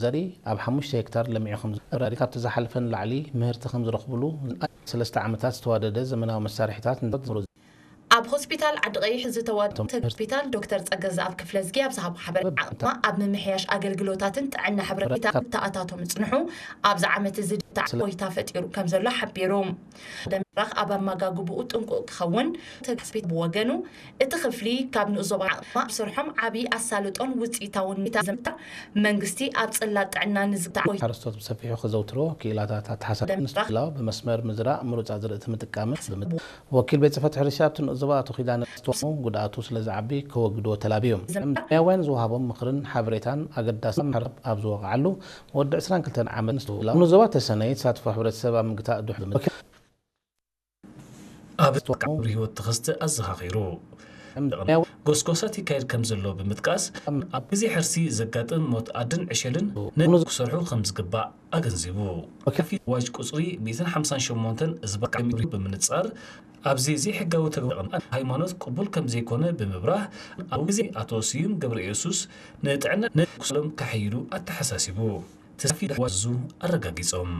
ዘርኢ ኣብ ሓሙሽተ ሄክታር ለሚዑ ከም ዝረኣዩ፣ ካብቲ ዝሓለፈ ንላዕሊ ምህርቲ ከም ዝረኽብሉ ሰለስተ ዓመታት ዝተዋደደ ዘመናዊ መሳርሒታት ንዘምሩ ኣብ ሆስፒታል ዓዲ ቀይሕ ዝተዋደደ ሆስፒታል ዶክተር ጸገዝኣብ ክፍለዝጊ ኣብ ዝሃቦ ሓበሬታ ዓቕማ ኣብ ምምሕያሽ ኣገልግሎታትን ጥዕና ሕብረተሰብ ተኣታቶ ምጽንሑ ኣብዚ ዓመት እዚ ድታ እፎይታ ፈጢሩ ከም ዘሎ ሓቢሩ። ደምራኽ ኣብ ኣመጋግብኡ ጥንቁቕ ክኸውን ተግስቢት ብወገኑ እቲ ክፍሊ ካብ ንኡስ ዞባ ዓቕማ ኣብ ስርሖም ዓቢ ኣሳልጦን ውጽኢታውን ሚታ ዘምታ መንግስቲ ኣብ ጽላት ጥዕና ንዝብታ ሓረስቶት ብሰፊሑ ክዘውትሮ ክኢላታት ኣተሓሳስባ ደምራኽ ንስላው ብመስመር ምዝራእ ምሩጻ ዝርእቲ ምጥቃምን ብምት ወኪል ቤት ጽሕፈት ሕርሻ ኣብቲ ንኡስ ዞባ ኣቶ ኪዳነ ዝተወሙ ጉድኣቱ ስለ ዝዓቢ ከወግድዎ ተላብዮም። ዘምታ ያውያን ዝወሃቦም ምኽርን ሓበሬታን ኣገዳሲ ማሕረብ ኣብ ዝወቕዓሉ ወዲ ዕስራን ክልተን ዓመት ንስላው ንኡስ ዞባ ተሰነይ ተሳትፎ ሕብረተሰብ ኣብ ምግታእ ድሕሪ ምት ኣብ ተወቃዕሩ ህይወት ተኸስተ ኣዘኻኺሩ። ጎስጎሳት ይካየድ ከም ዘሎ ብምጥቃስ ኣብ ግዜ ሕርሲ ዘጋጥም ሞት ኣድን ዕሸልን ነዚ ክሰርሑ ከም ዝግባእ ኣገንዚቡ። ከፊት ዋጅ ቁጽሪ ሚእትን ሓምሳን ሸሞንተን ዝባካሚሪ ብምንጻር ኣብዚ ዘይሕጋዊ ተግባር ሃይማኖት ቅቡል ከም ዘይኮነ ብምብራህ ኣብ ግዜ ኣቶ ስዩም ገብረ ኢየሱስ ንጥዕና ነዚ ክሰሎም ከሐይሉ ኣተሓሳሲቡ። ተሳፊ ዋዙ ኣረጋጊጾም።